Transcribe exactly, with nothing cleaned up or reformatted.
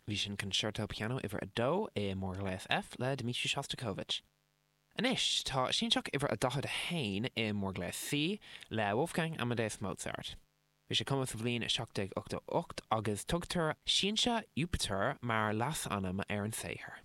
Bhí sin Concerto Piano uimhir a dó i mórghléas F le Dmitri Shostakovich. Anois tá Sianseach uimhir a daichead a haon i mórghléas C le Wolfgang Amadeus Mozart. Bhí sé cumtha sa bhliain seacht déag ochtó ocht agus tugtar Siansa Iúpatair mar leasainm ar an saothar.